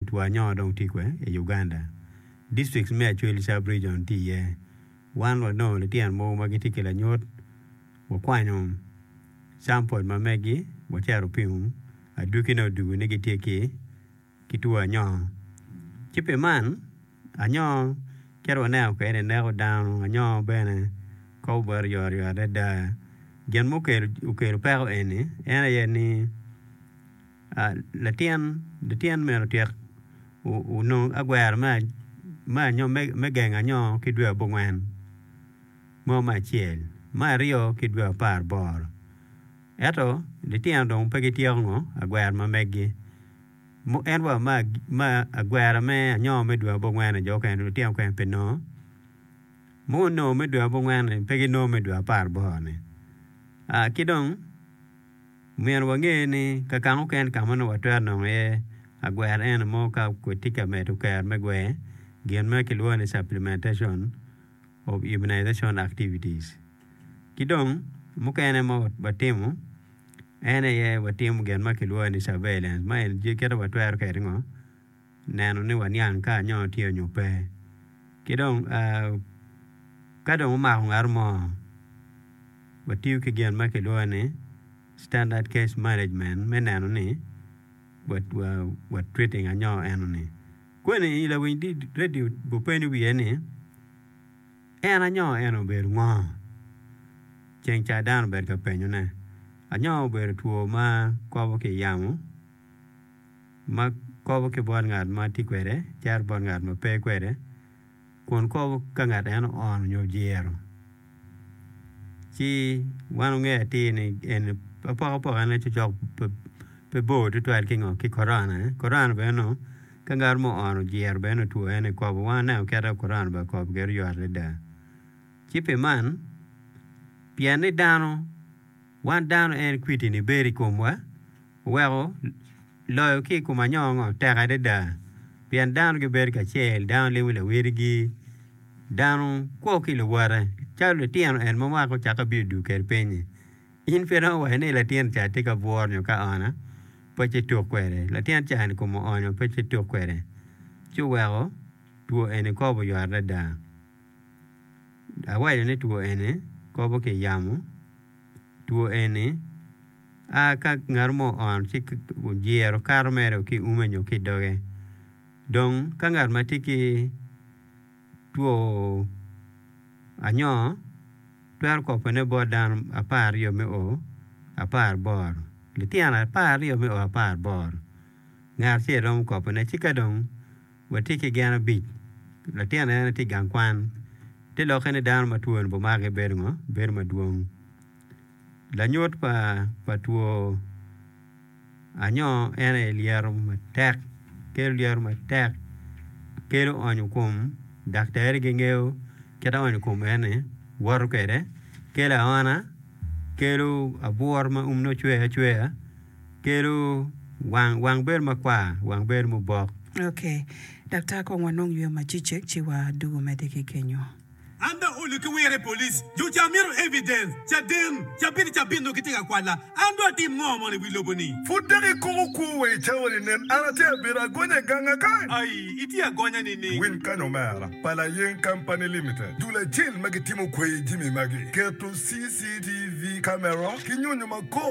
Two anyo dong tye kwe i Uganda. Districts me Acholi Sub Region tye iye. Wan wanongo litino mogo ma gitye ki lanyut, wakwanyo campol ma megi wacito wapimo, adwogine odwogo ni gitye ki ki two anyo. Ci pi man, anyo kit waneno kwede ni neko dano, anyo bene kobo bot oyotoyot adada. Gin ma okelo peko eni en aye ni Latin latin myero otyek onong agwero me gengo anyo ki dwe abongwen mo me acel, me aryo ki dwe apar aboro ento litino dong pe gityeko ngo agwero ma meggi en wa me agwero me anyo me dwe abongwen-ni jo mukene lutino mukene pe nongo ma onongo me dwe abongwen-ni pe ginongo me dwe apar aboro-ni ki dong. Myero wange ni ka mukene ka ma nongo watwero nongo iye agwera eno mo ka watye ka medo ker me gwer, gin ma kilwongo ni supplementation of immunization activities. Ki dong mukene ma watimo en aye watimo gin ma kilwongo ni surveillance ma en kit ma watwero kwede ngo neno ni waniang ka anyo tye nyo pe. Ki dong ka dong omako ngat mo Watiyo ki gin ma kilwongo ni standard case management me neno ni wa treating anyo eno-ni. Kweni i lawiny radio gupenyo wiye ni en anyo eno obedo ngo? Ceng ca dano obedo ka penyone. Anyo obedo two ma kobo ki i yamo ma kobo ki bot ngat ma tye kwede cito bot ngat ma pe kwede. kun kobo ka ngat en oono nyo ojiro, ci wan wangeyo atir ni eni apokapoka-ne cocok pe bor tutwal ki ngo ki korona, korona bene nongo ka ngat mo oono ojiro bene nongo two en aye kobo wan waneno kit ma korona bene okobo kwede oyot adada ci pi man pien ni dano wan dano en kwidi-ni bedo i komwa oweko Loyo ki i kom anyo ngo tek adada pien dano gibedo kacel, dano limo lawotgi, dano kwo ki luwote calo litino en ma mwaka ocake bino dwogo kwede piny-nyi. In pe iromo waco ni latin ca tye ka bworo nyo ka ona pe ci tuk kwede, latin ca-ni kome oonyo pe ci tuk kwede ci oweko two eni kobo oyot adada. Awaco ni two eni kobo ki i yamo, two eni. A Ka ngat mo oono ci ojiro kato mere ki i ume nyo ki i doge. Dong ka ngat ma tye ki two anyo twero kopone bot dano 12 me o 18, litino 12 me o 18, ngat acel romo kopone. Ci ka dong watye ki gin abic, latin en tye i gang kwan, te lokke ni dano ma two-ni bimake bedo ngo? Bedo madwong. Lanyut pa two anyo en aye lyeto matek kelo lyeto matek kelo onyo kom daktari gingeyo kit ma onyo kom eni woto kwede kelo aona kelo abworo ma ume nongo cwer acwera kelo wang wang bedo makwar wang bedo mubok. Ok daktar kong wanong yweyo macecek ci wadwogo medde ki kenyo. An dong olo ki wire i police, jo ca mito evidence, caden, cabit ki cabit nongo gitye ka kwala, an dong atim ngo mono i wi lobo ni? Pud dok ikoko kwo wa i cawa ni nen an atye abedo agonya i ganga kany. Ai, itye agonya nining? Winy kany omera pa Layeng Company Limited, dul acel ma gitimo kweyi jimi magi, keto CCTV camera ki nyonyo ma kok.